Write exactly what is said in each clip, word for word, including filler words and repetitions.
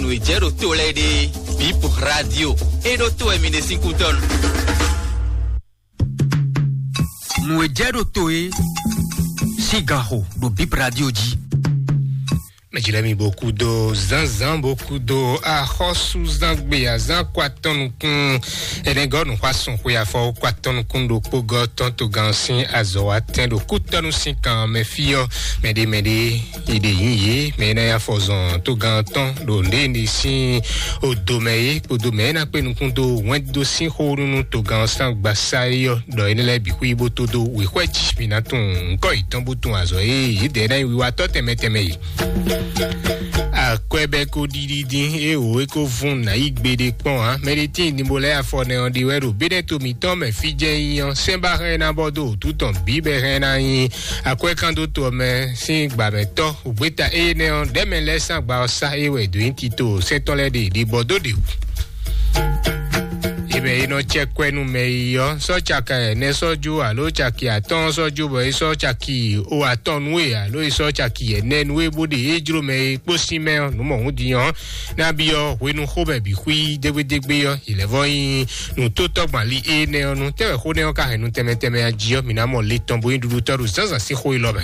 Nǔ e jɛ ɖo to lɛ́ɛ ɖe, Bip Radio, é ɖó to wɛ mi ɖe sín kútɔ́nu. Nǔ e jɛ ɖo to é sín ganxo ɖo Bip Radio jí. Mɛjilɛmi bó kú dó zánzán bó kú dó axɔ́súzángbe azán kó atɔ́ nukún. Ɛnɛgɔ́ nǔxwá sun xwe afɔ kó atɔ́ nukún ɖokpó gɔ́ tɔn togán sín azɔ̌ wa tɛn ɖo kútɔ́nú sín kan mɛ fí ɔ́. Mɛɖé mɛɖé iɖe yǐ yě mɛ é ná ya fɔ zɔn togán tɔn ɖo ndéni sín odo mɛ é kpódó mɛ é ná kpé nukún dó wɛn dó sín xó nú togán sín agbasá é ɔ́, ɖɔ énɛ́ lɛ́ɛ bǐ xwí bó tó dó wěxwɛ́ jí mi ná tunwun ŋkɔ́ yětɔn bó tunwun azɔ̌ e yědɛɛ ná nyí wiwatɔ́ tɛnmɛ tɛnmɛ e. Akwɛ́bɛ́ ko ɖiɖi dín, é wǒ é ko vún nǎ yí gbeɖé kpɔ́n ǎ. Mɛɖetín Dibɔlɛ́ afɔ nɛ ɔ́ ɖi wɛ ɖo béɖɛ́ to mǐtɔn mɛ fí jɛ́n nyí ɔ́, sɛ́n ba hɛn ná bɔ dó wǔtu tɔn bǐ bɛ hɛn ná nyí akwɛ́kándótó ɔ́ mɛ sín gbǎmɛtɔ́. Ògbéta énɛ́ ɔ́, ɖɛ̌mɛ lɛ́ɛ sín agba ɔ́ sá é wɛ è dǒ nyi tito sɛ́n tɔn lɛ́ɛ ɖe ɖibɔ dó ɖe wǔ. Ebe e nɔ cɛ kwɛ nú mɛ yi ɔ́, sɔ́ caki ɛnɛ sɔ́ jó alo caki atɔ́ɔ́n sɔ́ jó, bɔ é sɔ́ caki o atɔ́ɔ́n nú we alo é sɔ́ caki ɛnɛ nú we bó ɖe é jló mɛ e kpó sín mɛ ɔ́, nǔ mɔ̌hun din ɔ́, ná byɔ́ hwenu xomɛ bǐ xwí dégbédégbé ɔ́, yi lɛ́ vɔ́ nyí nǔtótɔ́gbali énɛ́ ɔ́ nu. Tɛ́ wɛ xó nɛ́ ɔ́ ka hɛn nu tɛnmɛ tɛnmɛ a jí ɔ́, mǐ ná mɔ le tɔn bó nyí ɖuɖutɔ́ ɖo zǎnzǎn sín xó élɔ́ mɛ.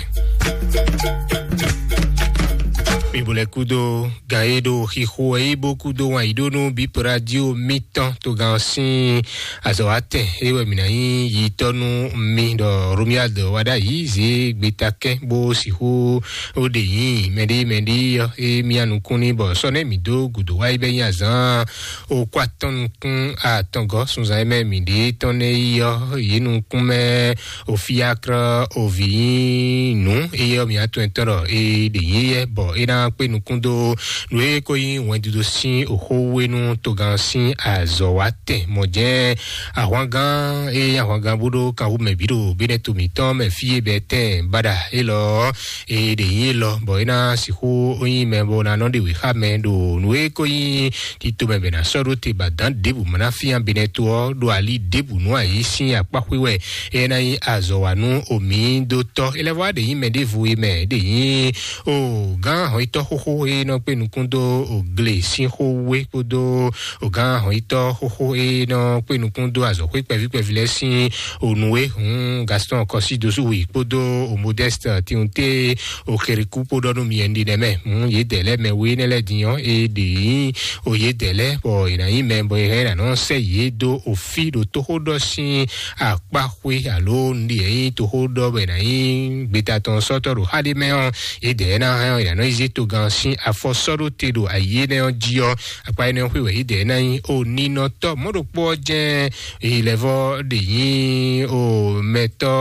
Mi bo lɛ́ kúdó gan e ɖo xixo wɛ yí bó kúdó wǎn yí ɖó nú Bip Radio mítɔn togán ɔ́ sín azɔ̌watɛn é wɛ mǐ ná nyí yitɔ́ nú mi ɖɔ Romuald Wadagni zě gbetakɛ́ bó sixú ó ɖe nyí mɛɖé mɛɖé ɔ́ é mía nukún ní bɔ sɔ́ nɛ́ mǐ dó gǔdo wá yi bɛ́ nyí azǎn ó kó atɔ́n nukún atɔngɔ́ sunzan e mɛ mǐ ɖe tɔn nɛ́ yi ɔ́ yě nukún mɛ o fiakrɔ o vǐ nyí nǔ éyɛ́ ɔ́ mǐ atɔn tɔn ɖɔ é ɖe nyí yɛ bɔ é ná kpé nukún dó nǔ e ko nyí wɛndido sín oxówénú togán sín azɔ̌watɛn mɔ̌ jɛ́n ahwangán e nyí ahwangán bó ɖó kanwú mɛ bǐ ɖo bénɛ́ to mǐtɔn mɛ fí e bɛ́ tɛn baɖa élɔ́ é ɖe nyí élɔ́ bɔ é ná sixú nyí mɛ bó ná nɔ ɖe wěxá mɛ ɖo nǔ e ko nyí tito mɛ bɛ ná sɔ́ ɖó te ba dǎn ɖěbǔ mɔ ná fían benɛ́ to ɔ́ ɖo ali ɖěbǔ nú ayǐ sín akpá xwé wɛ é ná nyí azɔ̌ wa nú omǐ dó tɔ́. É lɛ́ vɔ wá ɖe nyí mɛ ɖěvo e mɛ ɖe nyí o gán hɔnyitɔ́ xóxó e nɔ kpé nukún dó o gle sín xó wé kpódó o gán hɔnyitɔ́ xóxó e nɔ kpé nukún dó azɔ̌xwé kpɛví kpɛví lɛ́ɛ sín o nǔ e hǔn Gaston Kɔsí dosúwì kpódó o Modeste Tiunté o Xerikú kpó ɖɔ nú mi ɛnɖi nɛ́ mɛ. Hǔn yědɛɛ lɛ́ɛ mɛ we énɛ́ lɛ́ɛ din ɔ́, é ɖe nyí o yědɛɛ lɛ́ɛ bɔ è nǎ nyí mɛ bɔ è hɛn ná nɔ sɛ́ yě dó o fí ɖo tóxóɖɔ sín akpá xwé alo nǔɖi e nyí tóxóɖɔ bɔ è nǎ nyí gbeta tɔn sɔ́tɔ́ ɖo xá ɖé mɛ ɔ́, yědɛɛ ná hɛn ɔ́, è nǎ nɔ yi zé togán sín afɔ sɔ́ ɖó te ɖo ayǐ énɛ́ ɔ́ jí ɔ́, akpá énɛ́ ɔ́ xwé wɛ yědɛɛ ná nyí o ninɔtɔ́ mɔ̌ ɖokpó ɔ́ jɛ́n Ilẹ̀vọ́ ɖe nyí o mɛtɔ́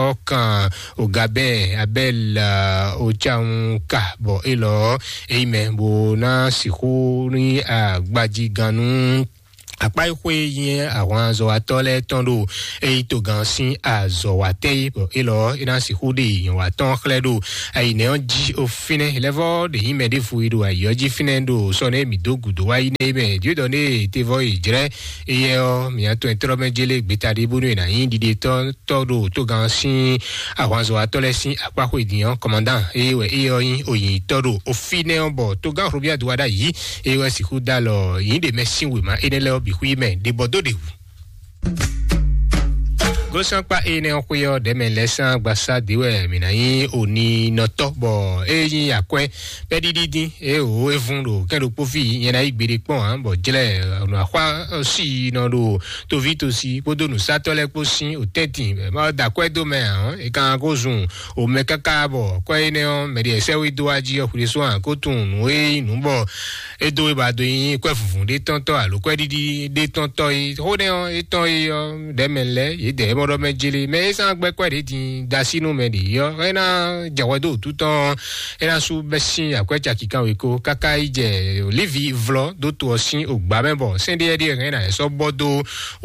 ɔ́ kan o Gabɛ́n Abɛ́l o cawun ka bɔ élɔ́ é nyí mɛ bó ná sixú nyí agbajigannú akpá e xwé nyí ahwanzɔ́watɔ́ lɛ́ɛ tɔn ɖo é nyí togán sín azɔ̌watɛ́ é bɔ élɔ́ é ná sixú ɖe nyɔ̌watɔ́ xlɛ́ ɖo ayǐnɛ́ ɔ́ jí o fínɛ́. Ilẹ̀vọ́ ɖe nyí mɛ ɖěvo e ɖo ayǐ ɔ́ jí fínɛ́ ɖo sɔ́ nɛ́ mǐ dó gǔdo wá yi nɛ́ é mɛ. Jǒdɔ née tevɔ yi jlɛ́ éyɛ́ ɔ́, mǐ atɔn e tlɔ́ mɛ jélé gbeta ɖé bónú è nǎ nyí ɖiɖetɔ́ tɔ́ ɖo togán sín ahwanzɔ́watɔ́ lɛ́ɛ sín akpá xwé din ɔ́, kɔmandán ée wɛ éyɛ́ ɔ́ nyí oyǐnyitɔ́ ɖo ofínɛ́ ɔ́, bɔ togán Robíadu wá ɖ'ayǐ ée wɛ sixú dó alɔ yǐ ɖě mɛ sín wěma énɛ́ lɛ́ɛ ɔ́ bǐ xwí mɛ ɖě bɔ dó ɖě wú. Gosɔ́nkpá énɛ́ ɔ́ xwé ɔ́ ɖɛ̌mɛ lɛ́ɛ sín agbasá dě wɛ mǐ ná nyí oninɔtɔ́, bɔ é nyí akwɛ́ pɛ́ɖiɖi dín, é wǒ é vún ɖo kɛ́n ɖokpó fí nyɛ ná yí gbeɖé kpɔ́n ǎ, bɔ jlɛ́ nɔ axwá sí nɔ ɖo toví tosi kpódó nǔsátɔ́ lɛ́ɛ kpó sín òtɛ́ntin, bɔ má da akwɛ́ dó mɛ ǎ, é kan ko zun omɛ káká bɔ akwɛ́ énɛ́ ɔ́ mɛ ɖě sɛ́ wé dó wá jí ɔ́ xwle sún ǎ kó tunwun nǔ e nyí nǔ bɔ é dó é ba dó nyí kwɛ́ vǔvǔ ɖé tɔn tɔ́ alo kwɛ́ɖiɖi ɖé tɔn tɔ́ é. Xó nɛ́ ɔ́ é tɔn é ɔ́ ɖɛ̌ mɛ lɛ́ɛ yědɛɛ é mɔ ɖɔ mɛ jélé mɛ é sán gbɛ́ kwɛ́ ɖě din dasí nú mɛ ɖě ɔ́ é ná jɛ hwɛ dó wǔtu tɔn ɔ́, é ná sú bɛ́ sín akwɛ́ caki kanwekó káká yi jɛ Livi vlɔ́ dó to ɔ́ sín ògbá mɛ bɔ sɛ́n ɖé ɛ́ ɖíe hɛn ná sɔ́ bɔ dó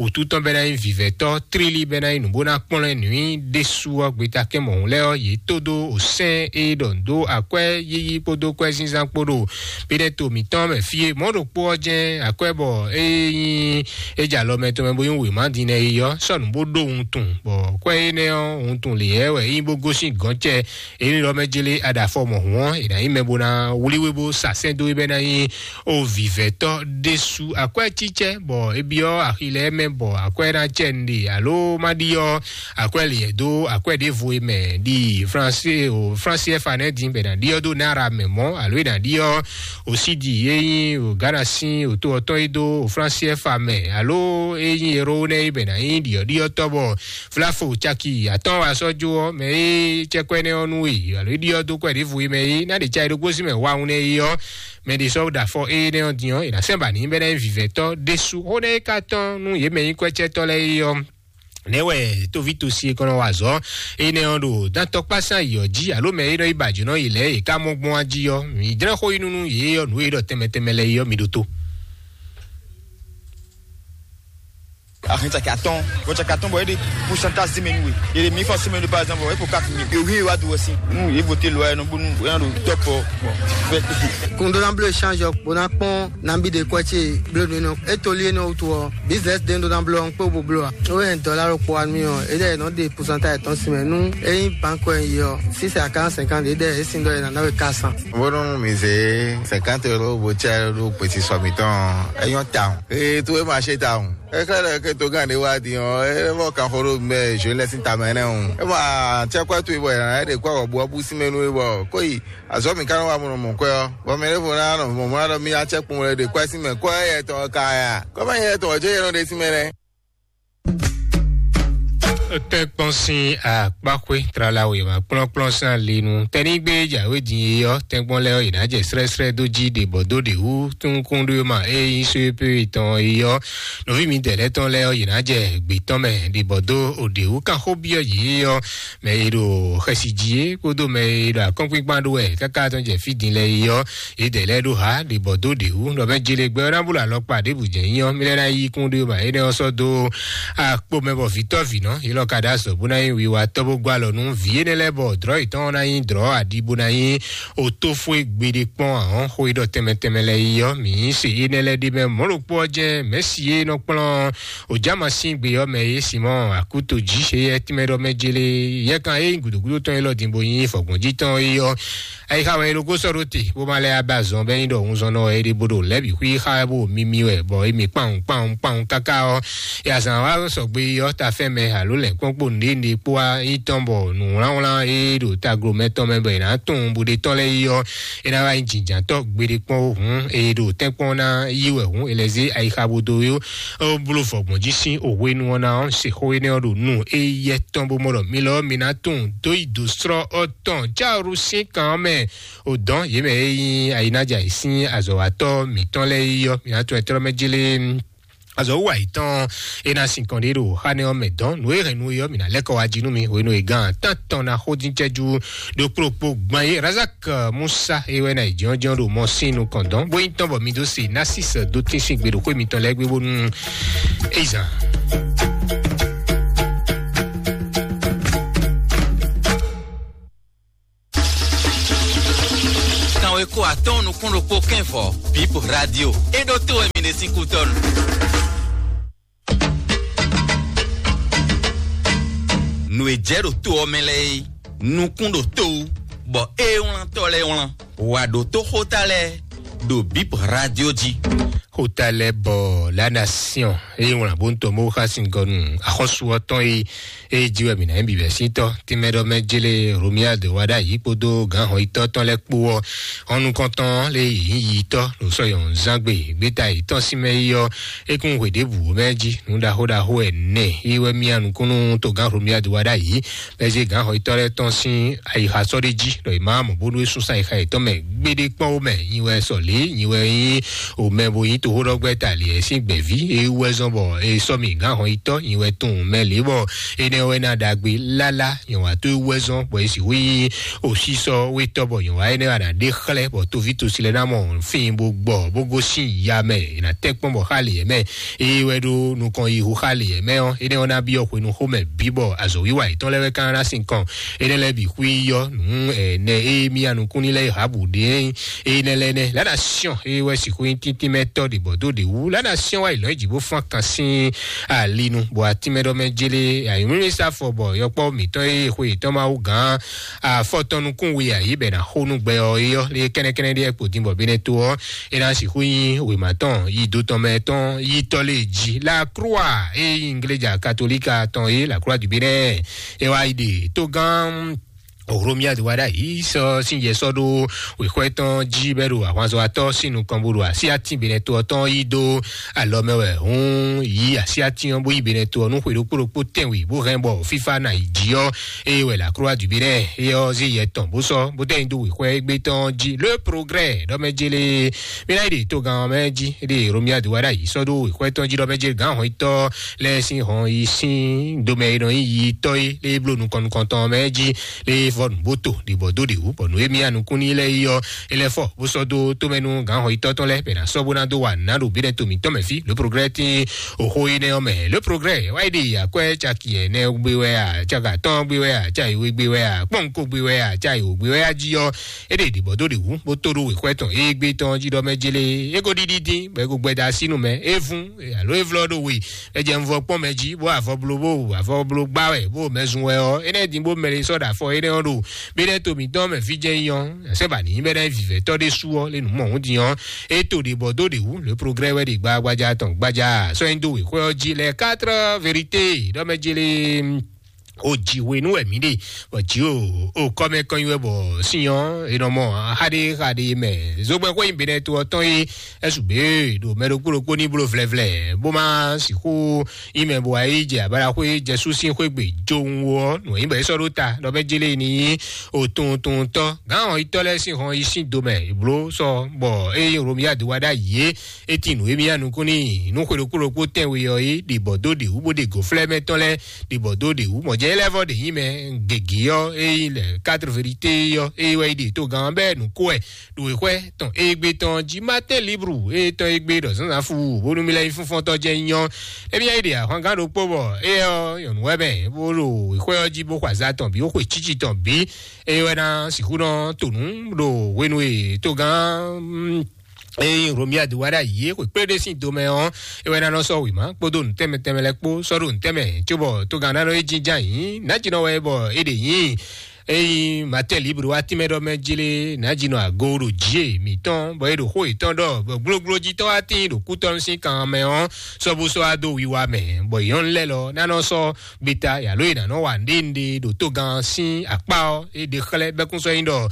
wǔtu tɔn bɛ́ ná nyí vǐvɛ́tɔ́ tlílí bɛ́ ná nyí nǔ bó ná kplɔ́n ɛ nǔ nyi ɖésú ɔ́ gbeta kɛn mɔ̌hun lɛ́ɛ ɔ́ yě tó dó o sɛ́n e ɖɔ dó akwɛ́ yíyí kpódó kwɛ́ zínzán kpó ɖo Bɛ́nɛ́ to mǐtɔn mɛ fí e mɔ̌ ɖokpó ɔ́ jɛ́n akwɛ́ bɔ é nyí é jɛ alɔ mɛ tɔn mɛ bó nyí wěma din nɛ é ɔ́ sɔ́ nǔ bó ɖó wuntun, bɔ kwɛ́ énɛ́ ɔ́ wuntun lě yɛ wɛ é nyí bó gosín gɔ̌n cɛ. Énɛ́ lɔ mɛ jlé aɖafɔ mɔ̌hun ɔ́, è nǎ nyí mɛ bó ná wlí wé bó sa sɛ́n dó é bɛ́ ná nyí o vǐvɛ́tɔ́ ɖésú akwɛ́ cícɛ́, bɔ é byɔ́ axi lɛ́ɛ mɛ, bɔ akwɛ́ ná cɛ nɖe alo má ɖi ɔ́, akwɛ́ lǐnyɛ dó akwɛ́ ɖěvo e mɛ ɖi Fransi o Fransi ɛfa nɛ́ din bɛ ná ɖi ɔ́ dó nára mɛ mɔ̌, alo é ná ɖi ɔ́ o sídi e nyí o Ghana sín o tó ɔ́ tɔn e dó o Fransi ɛfa mɛ, alo e nyí Ero nɛ́ e bɛ ná nyí ɖiɔɖiɔtɔ́ bɔ Flafo caki atɔ́ɔ́n wa sɔ́ jó ɔ́, mɛ e cɛ kwɛ́ nɛ́ ɔ́ nú we, alo é ɖi ɔ́ dó kwɛ́ ɖěvo e mɛ é ná ɖe ca e ɖokpó sín mɛ wawun nɛ́ é ɔ́, mɛ ɖě sɔ́ ɖo afɔ énɛ́ ɔ́ din ɔ́, è nǎ sɛ́n ba nǐ bɛ́ ná nyí vǐvɛ́tɔ́ ɖésú. Xó nɛ́ é ka tɔ́n nú yě mɛ nyí kwɛ́cɛ́tɔ́ lɛ́ɛ é ɔ́, nɛ̌ wɛ tóví tosi e kɔn nɔ wa azɔ̌ énɛ́ ɔ́ ɖo dán tɔkpásán yǐyɔ jí, alo mɛ e nɔ yi ba jǒnɔ yi lɛ́ɛ è ká mɔ gbɔn wá jí ɔ́, mǐ jlɛ́ xó yi nú nú yě ɔ́, nǔ e ɖɔ tɛnmɛ tɛnmɛ lɛ́ɛ é ɔ́, mi ɖótó. Ahin caki atɔn, bɔ caki atɔn bɔ e de pourcentage si mɛ nue. E de mi fɔ si mɛ nu par exemple, e ko quatre mille. E wi wa do wɛ si. Nu e vote loi e nɔ bonu e nɔ do top. Bon. Kun ɖó ná bló échange ɔ́, bó ná kpɔ́n nabí ɖe kwɛ́ ce bló nú énɛ́. E to lí énɛ́ wútu ɔ́, business ɖé ɖó ná bló ɔ́, un kpé bo bló ǎ. Ó yɛ dɔlá ɖokpó wa nú mì ɔ́, é ɖɛ nɔ ɖe pourcentage tɔn si mɛ nú é nyí banque ɔ́ yi ɔ́, six à quarante cinquante, é ɖɛ é sin ɖɔ é ná ná we quatre cents. Bónú mi zé cinquante euros bó cɛ ɖó gbèsè sɔ mǐtɔn ɔ́, é nyɔ́ tawun. Ee, tó é ma ṣe tawun. É xlɛ́ ɖɔ é ké tó gán ɖé wá din ɔ́, é vɔ kan xó ɖó mɛ zǒ lɛ́ sín tamɛ nɛ́ hǔn. É ma cɛ́ kwɛ́ towe bɔ è nǎ ɖe kwɛ́ wɔ̌buwɔ́bú sín mɛ nú é bɔ kó yi azɔ̌ mǐ ka nɔ wa mɔnɔ mɔ kwɛ́ ɔ́, bɔ mɛ ɖěvo ná nɔ mɔ̌ mɔ ɖɔ mí ná cɛ́ kpɔ́n wɛ ɖe kwɛ́ sín mɛ, kwɛ́ yɛ tɔn ɔ́ ka ya. Kɔ́ má nyí yɛ tɔn ɔ́ jɛ yɛ nɔ ɖe sín mɛ nɛ́. Tɛ́nkpɔ́n sín akpáxwé tlala wěma kplɔ́nkplɔ́n sín alinu tɛ́nígbe jǎwe din e ɔ́, tɛ́nkpɔ́n lɛ́ɛ ɔ́, yě ná jɛ srɛ́srɛ́ dó jí ɖě bɔ dó ɖě wú túnkún ɖó ma e nyí só e pé tɔn e ɔ́, nɔví mǐdɛɛ lɛ́ɛ tɔn lɛ́ɛ ɔ́, yě ná jɛ gbě tɔn mɛ ɖě bɔ dó òɖě wú kanxó byɔ́ yě ɔ́, mɛ e ɖo xɛsi jí é kpódó mɛ e ɖo akɔ́nkpínkpán ɖó wɛ káká tɔn jɛ fí din lɛ́ɛ é ɔ́, yědɛɛ lɛ́ɛ ɖó hǎ ɖě bɔ dó ɖě wú, ɖɔ mɛ jele gbɛ ɔ́ ná bú lɔ alɔkpa ɖěbǔ jɛ nyí ɔ́, mí lɛ́ ná yí kún ɖé ma énɛ́ ɔ́ sɔ́ dó akpo mɛ bɔ vǐtɔ́ vǐnɔ yě lɔ ka ɖó azɔ̌ bó ná nyí wiwa tɔ́ bó gbɔ alɔ nú vǐ énɛ́ lɛ́ɛ bɔ dlɔ̌ yětɔn ná nyí dlɔ̌ aɖi bó ná nyí otófó e gbeɖé kpɔ́n ahɔ́n xó e ɖɔ tɛnmɛ tɛnmɛ lɛ́ɛ é ɔ́, mǐ nyí se énɛ́ lɛ́ɛ ɖé mɛ mɔ̌ ɖokpó ɔ́ jɛ́n mɛ̌si e nɔ kplɔ́n Òjǎma sín gbe ɔ́ mɛ é Simɔ́ɔ Akúto jí, éyɛ́ tínmɛ ɖɔ mɛ jélé yɛkan é nyí gǔdúgúdú tɔn élɔ́ din bó nyí fɔgbɔ́njí tɔn é ɔ́. Ayixa wɛ é ɖokó sɔ́ ɖó te, bó ma lɛ́ ba zɔn bɛ́ nyí ɖɔ hunzɔnnɔ wɛ é ɖe bó ɖo lɛ̌ bǐ xwí xá bó mimi wɛ, bɔ é mi kpawun kpawun kpawun káká ɔ́, é azǎn wá sɔgbe ɔ́ ta fɛn mɛ alo lɛ̌nkpɔ́n kpó nǔɖé nǔɖé kpó wá nyí tɔn bɔ nǔwlánwlán e ɖo taglo mɛ tɔn mɛ bɔ è nǎ tunwun bó ɖe tɔn lɛ́ɛ é ɔ́, é ná wá nyí jǐnjǎntɔ́ gbeɖé kpɔ́n ó hǔn, e ɖo tɛ́nkpɔ́n ná yí wɛ hǔn, è lɛ́ zé ayixa bó dó ó bló vɔ̌gbɔn jí sín òhwenu ɔ́ ná ɔ́, se xó énɛ́ ɔ́ ɖo nú éyɛ́ tɔn bó mɔ ɖɔ mi lɔ ɔ́, mi ná tunwun dó yi dǒ slɔ́ ɔ́ tɔn cáru sín kan ɔ́ mɛ. Ò dɔn yě mɛ e nyí ayinájà yě sín azɔ̌watɔ́ mǐtɔn lɛ́ɛ yi ɔ́, mi ná tunwun ɛtrɔ́ mɛ jélé azɔ̌ wú ayǐtɔn é ná sin kɔn ɖé ɖo xá nɛ́ ɔ́ mɛ dɔn. Nǔ e hɛn nu é ɔ́, mǐ ná lɛ́ kɔ wá jí nú mi hwenu e gán tán tɔn ná xó dín cɛ́jú ɖo kplɔ́kpó gbán é. Razak Musa é wɛ ná yi jɔ́njɔ́n ɖo mɔ sín nukɔn dɔn, bó nyí tɔn bɔ mi dó se Narcisse dó tín sín gbe ɖo xwé mitɔn lɛ́ɛ gbé bónú é yi zan. Kanweko atɔ́ɔ́n nukún ɖokpó kɛ́n vɔ, Bip Radio. É ɖó tó wɛ mi ɖe sín kútɔ́nu. Nǔ e jɛ ɖo to ɔ́ mɛ lɛ́ɛ é, nukún ɖo to wú, bɔ é wlántɔ́ lɛ́ɛ wlán. Wǎ ɖótó xóta lɛ́ɛ ɖo Bip Radio jí. Xóta lɛ́ɛ bɔ La Nation é wlán bó ń tɔ mó xá sin gɔnu axɔ́sú ɔ́ tɔn é. Eye jí wɛ mǐ ná nyí bǐbɛ́sítɔ́ tínmɛ ɖɔ mɛ jélé Romuald wá ɖ'ayǐ kpódó gǎnhɔnyitɔ́ tɔn lɛ́ɛ kpó ɔ́, hɔn nukɔntɔn lé yě nyí yitɔ́ ɖo sɔ́yɔn zán gbe gbéta yětɔn sín mɛ yi ɔ́, é kún hwe ɖěbǔ mɛ jí nǔ ɖaxó ɖaxó ɛnɛ yi wɛ mía nukúnnú togán Romuald wá ɖ'ayǐ, bɔ é zé gǎnhɔnyitɔ́ lɛ́ɛ tɔn sín ayixa sɔ́ ɖé jí ɖɔ è má mɔ bónú é súnsún ayixa yětɔn mɛ gbéɖé kpɔ́n ó mɛ. Nyi wɛ sɔlǐ, nyi wɛ nyí omɛ bo nyí toxóɖɔgbɛ́ta lǐɛ sín gbɛ̌ví e wú wɛ zɔ́n bɔ è sɔ́ mì gǎn hɔn yi tɔ́ nyi wɛ tunwun mɛ lě bɔ énɛ́ wɛ ná ɖagbe lála nyɔ̌watɔ́ e wú wɛ zɔ́n bɔ è sixú nyí osísɔ́ wétɔ́ bɔ nyɔ̌wa énɛ́ wɛ ná ɖe xlɛ́ bɔ toví tosi lɛ́ɛ ná mɔ fín bó gbɔ bó gosín ya mɛ è nǎ tɛ́ kpɔ́n bɔ xá lǐɛ mɛ. Eye wɛ ɖó nukɔn yi hu xá lǐɛ mɛ ɔ́, énɛ́ ɔ́ ná byɔ́ hwenu xomɛ bǐ bɔ azɔ̌wiwa yětɔn lɛ́ɛ wɛ ka ná sín kɔn. Énɛ́ lɛ́ɛ bǐ xwí yɔ nǔ ɛnɛ e mì anukúnni lɛ́ɛ Ahabu ɖe ényí énɛ́ lɛ́ɛ nɛ́. La nation e wɛ sixú nyí tíntímɛtɔ́ ɖě bɔ dó ɖě wú. La nation wá yi lɔ̌ yi jǐ bó fán kan sín alinu bɔ atínmɛɖɔmɛ jélé ayǐmúmísá fɔ bɔ yɔkpɔ́ mǐtɔn e xwe yětɔn Mawu gǎn afɔtɔn nukún we ayǐ bɛ ná xó nú gbɛ ɔ́ é ɔ́ lé kɛ́nɛkɛ́nɛ ɖíe kpo din bɔ bínɛ́ tó ɔ́ é ná sixú nyí wěma tɔn yi do tɔn mɛ tɔn yi tɔ́ lé jí. La croix e nyí ngleja katolika tɔn é la croix du bénin é wá yi ɖe tógán Romia de wá ɖ'ayǐ sɔ́ sín yɛ sɔ́ ɖó wěxwɛ́ tɔn jí bɛ́ ɖo ahwanzɔ́watɔ́ sín nukɔn bó ɖo así atín benɛto ɔ́ tɔn yí dó alɔ mɛ wɛ hǔn yí así atín ɔ́ bó yí benɛto ɔ́ nú xwe ɖokpó ɖokpó tɛ́nwe bó hɛn bɔ fífá ná yi jí ɔ́. Eye wɛ la croix du bénin é ɔ́ zé yɛ tɔn bó sɔ́ bó tɛ́ nyi dó wěxwɛ́ égbé tɔn jí. Le progrès ɖɔ mɛ jélé mí ná yi ɖe togán ɔ́ mɛ jí ɖe Romia de wá ɖ'ayǐ sɔ́ ɖó wěxwɛ́ tɔn jí ɖɔ mɛ jélé gǎn hɔn yi tɔ́ lɛ́ɛ sín hɔn yi sín domɛ e nɔ nyí yi tɔ́ é lé bló nukɔn nukɔntɔn mɛ jí lé vɔ nǔbóto ɖibɔ dó ɖěwú bɔ nǔ e mì anukún ní lɛ́ɛ yi ɔ́ é lɛ́ fɔ bó sɔ́ dó tómɛnú gǎnhɔyítɔ́ tɔn lɛ́ɛ bɛ ná sɔ́ bó ná dó wa nǎ ɖo bínɛ́ to mǐtɔn mɛ fí. Le progrès tín oxó énɛ́ ɔ́ mɛ. Le progrès wá yi ɖe akwɛ́ caki ɛnɛ gbe wɛ a, caki atɔ́ɔ́n gbe wɛ a, caki we gbe wɛ a, kpɔ́nko gbe wɛ a, caki wǒ gbe wɛ a jí ɔ́ é ɖe ɖibɔ dó ɖěwú bó tó ɖó wěxwɛ́ tɔn égbé tɔn jí ɖɔ mɛ jélé é ko ɖiɖi dín bɔ é ko gbɛda sínú mɛ é vún alo é vlɔ́ ɖo we. È jɛ un vɔ kpɔ́n mɛ jí bó avɔ blo bó avɔ blo gbá wɛ bó mɛ zun wɛ ɔ́ énɛ́ din bó mɛ lé sɔ́ ɖo afɔ énɛ́ ɔ́ ɖo bí ɖɛ́ to mǐtɔn mɛ fí jɛ́n nyí ɔ́ sɛ́ ba ní bɛ́ ná vivɛtɔ́ ɖé sú ɔ́ lé nǔ mɔ hǔn din ɔ́ é to ɖě bɔ dó ɖě wú le progrès wɛ ɖe gbagbaja tɔn gbaja sɔ́ nyi dó wěxwɛ́ ɔ́ jí lɛ quatre vérité ɖɔ mɛ jélé o jǐ hwenu wɛ mǐ ɖe bɔ jǐ o o kɔmɛ kɔnyi wɛ bɔ sin ɔ́ è nɔ mɔ xaɖé xaɖé mɛ zogbɛn xwé nyi benɛ to ɔ́ tɔn é ɛsù bě ɖo mɛ ɖokpó ɖokpó ní bló vlɛvlɛ bó má sixú nyí mɛ bó wá yi jɛ abala xwé jɛsú sín xwé gbe jo ŋu ɔ́ nǔ nyí bɔ é sɔ́ ɖó ta ɖɔ bɛ jélé ní nyí o tuntuntɔ gǎn ɔ́ yi tɔ́ lɛ́ɛ sín hɔn yi sín do mɛ bló sɔ bɔ é nyí Romia do wá ɖ'ayǐ é é tin nǔ émí ya nukún n'i nú xwe ɖokpó ɖokpó tɛnwe ɔ́ é ɖi bɔ dó ɖě wú bó ɖe gǒflɛ́ mɛ tɔn lɛ́ɛ ɖi bɔ dó ɖě wú mɔ̌ jɛ é lɛ́ vɔ ɖě nyí mɛ gěgé ɔ́ é nyí lɛ quatre vérité ɔ́ é wɛ yi ɖe togán bɛ́ nǔ kó wɛ ɖo wěxwɛ́ tɔn égbé tɔn jí Martin Libre é tɔn égbé ɖɔ zǎnzǎn fu bónú mí lɛ́ nyí fúnfɔ́ntɔ́ jɛ nyɔ émí ya yi ɖe ahwangán ɖokpó bɔ é ɔ́ nyɔ̌nu wɛ mɛ bó ɖo wěxwɛ́ ɔ́ jí bó xɔ azǎ tɔn bǐ bó xwe cíci tɔn bǐ é wɛ ná sixú nɔ to nǔ ɖo hwenu e togán eye Romia do wá ɖo ayǐ é xwe kplé ɖé sín do mɛ ɔ́ é wɛ ná nɔ sɔ́ wěma kpódó nǔ tɛnmɛ tɛnmɛ lɛ́ɛ kpó sɔ́ ɖo nǔ tɛnmɛ cóbɔ togán ná nɔ é jínjɔ́n ayǐ nǎjínɔ wɛ bɔ é ɖe nyí eyi Martin Libre wá tínmɛ ɖɔ mɛ jlé nǎjínɔ ago ɖo jǐ e mǐtɔn bɔ é ɖo xó yětɔn ɖɔ bɔ gblóglójítɔ́ wá tín ɖo kútɔ́nú sín kan mɛ ɔ́ sɔ́ bó sɔ́ wá dó wiwa mɛ bɔ nyɔ̌nu lɛ́ɛ lɔ ná nɔ sɔ́ gbeta yǎló e nǎ nɔ wa nɖénɖé ɖo togán sín akpá ɔ́ é ɖe xlɛ́ bɛ́kún sɔ́ nyí ɖɔ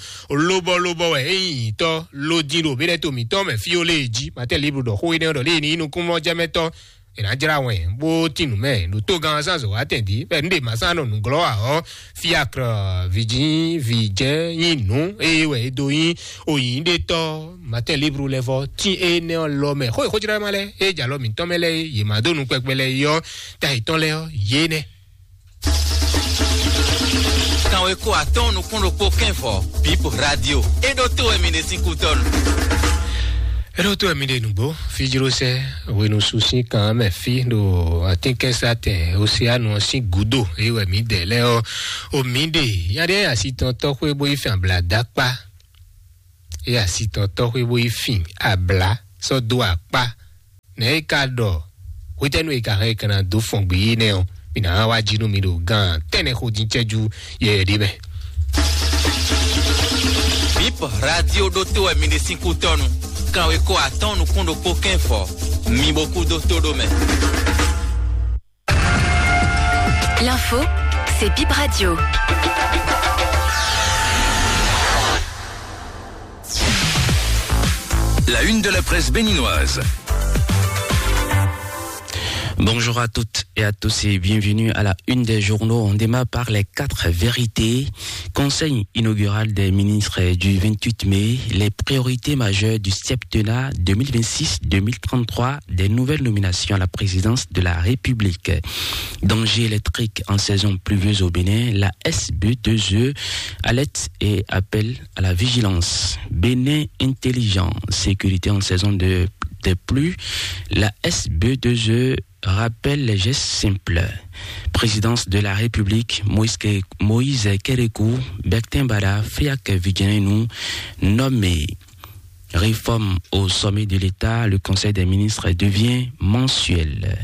lóbɔ́lóbɔ́ wɛ é nyí nyǐtɔ́ ló dín ɖo mǐɖɛ́ to mǐtɔn mɛ fí ó lée jí Martin Libre ɖɔ xó énɛ́ ɖɔ lée ní nyí nukúnmɔjɛmɛtɔ́ è nǎ jlá wɛn bó tín nǔ mɛ ɖo togán zán zɔ̌ wá tɛn dǐ bɛ́ nǔ ɖe mǎ sán nɔ nǔglɔ́ ǎ ɔ́ fiakr vǐjin vǐjɛ́n nyí nǔ eye wɛ è dó nyí oyǐɖétɔ́ Martin Libre lɛ́ vɔ tín énɛ́ ɔ́ lɔ mɛ xó e xójlá ma lɛ́ɛ é jɛ alɔ mǐtɔn mɛ lɛ́ɛ é yě má dó nú kpɛkpɛ lɛ́ɛ é ɔ́ ta yětɔn lɛ́ɛ ɔ́ yě nɛ́. Kanweko atɔ́ɔ́n nukún ɖokpó kɛ́nvɔ Bip Radio é ɖótó wɛ mi ɖe sín kútɔ́nu. É ɖótó wɛ mi ɖe nǔgbó fíjlósɛ hwenu su sín kan mɛ fí ɖo atínkɛnsatɛn Oseanu ɔ́ sín gǔdo é wɛ mǐ dɛ lɛ́ɛ ɔ́ o mǐ ɖe nya ɖé asi tɔn tɔ́xwé bó yi fɛn abla dó akpá é asi tɔn tɔ́xwé bó yi fin abla sɔ́ dó akpá nɛ̌ é ka ɖɔ hwetɛ́nu e ka hɛn è ka ná dó fɔn gbě é nɛ́ ɔ́ mǐ ná wá jí nú mi ɖo gán tɛ́nnɛ xo dín cɛ́jú yɛyɛ ɖé mɛ. Bip Radio ɖótó wɛ mi ɖe sín kútɔ́nu. Kanweko atɔ́ɔ́n nukún ɖokpó kɛ́nvɔ mi bo kú dó tó ɖó mɛ. L'info, c'est Bip Radio. La une de la presse béninoise. Bonjour à toutes et à tous et bienvenue à la une des journaux. On démarre par les quatre vérités. Conseil inaugural des ministres du vingt-huit mai, les priorités majeures du septennat deux mille vingt-six deux mille trente-trois, des nouvelles nominations à la présidence de la République. Danger électrique en saison pluvieuse au Bénin, la S B deux E alerte et appelle à la vigilance. Bénin intelligent, sécurité en saison de, de pluie, la S B deux E rappelle les gestes simples. Présidence de la République, Moïse Ke-, Moïse Kérékou, Bertin Bada, Fiak Vidjinenu, nommé. Réforme au sommet de l'État, le Conseil des ministres devient mensuel.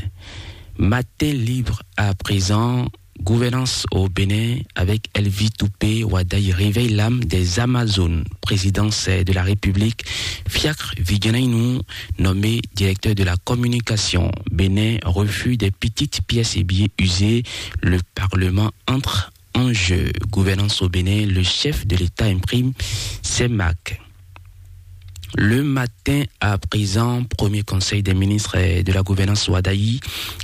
Matin libre à présent, gouvernance au Bénin avec Elvi Toupé Wadaï réveille l'âme des Amazones. Présidence de la République, Fiacre Vidjinenu, nommé directeur de la communication. Bénin, refus des petites pièces et billets usés. Le Parlement entre en jeu. Gouvernance au Bénin, le chef de l'État imprime ses marques. Le matin à présent, premier conseil des ministres de la gouvernance Wadaï,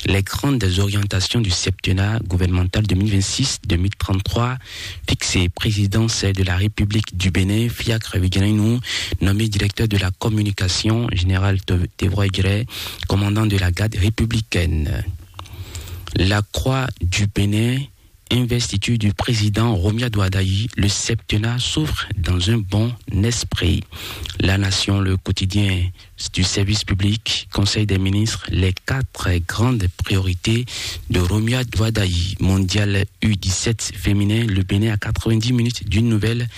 les grandes orientations du septennat gouvernemental deux mille vingt-six deux mille trente-trois, fixé. Présidence de la République du Bénin, Fiacre Vidjinenu, nommé directeur de la communication, général Te-, Tevroy Gray, commandant de la garde républicaine. La Croix du Bénin, investiture du président Romuald Wadayi, le septennat s'ouvre dans un bon esprit. La Nation, le quotidien du service public, Conseil des ministres, les quatre grandes priorités de Romuald Wadayi. Mondial U dix-sept féminin, le Bénin à quatre-vingt-dix minutes d'une nouvelle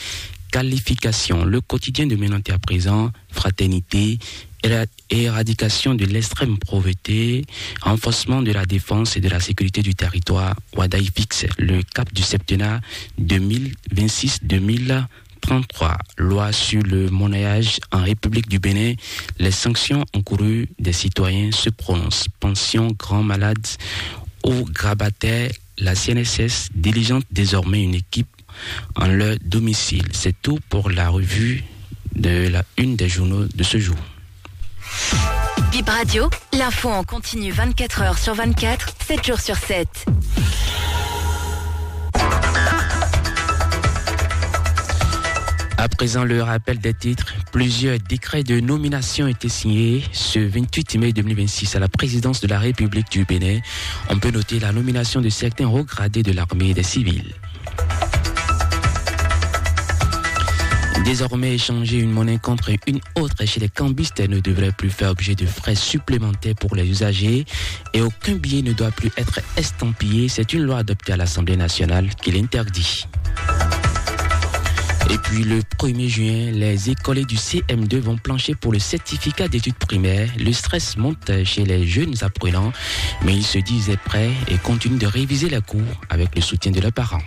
qualification. Le quotidien de Ménanté à présent, fraternité, éra-, éradication de l'extrême pauvreté, renforcement de la défense et de la sécurité du territoire. Wadayi fixe le cap du septennat deux mille vingt-six deux mille trente-trois. Loi sur le monnayage en République du Bénin, les sanctions encourues des citoyens se prononcent. Pension grand malade ou grabataire, la C N S S diligente désormais une équipe en leur domicile. C'est tout pour la revue de la une des journaux de ce jour. Bip Radio, l'info en continu vingt-quatre heures sur vingt-quatre, sept jours sur sept. À présent, le rappel des titres. Plusieurs décrets de nomination étaient signés ce vingt-huit mai deux mille vingt-six à la présidence de la République du Bénin. On peut noter la nomination de certains hauts gradés de l'armée et des civils. Désormais, échanger une monnaie contre une autre chez les cambistes ne devrait plus faire objet de frais supplémentaires pour les usagers et aucun billet ne doit plus être estampillé. C'est une loi adoptée à l'Assemblée nationale qui l'interdit. Et puis le premier juin, les écoliers du C M deux vont plancher pour le certificat d'études primaires. Le stress monte chez les jeunes apprenants, mais ils se disent prêts et continuent de réviser les cours avec le soutien de leurs parents.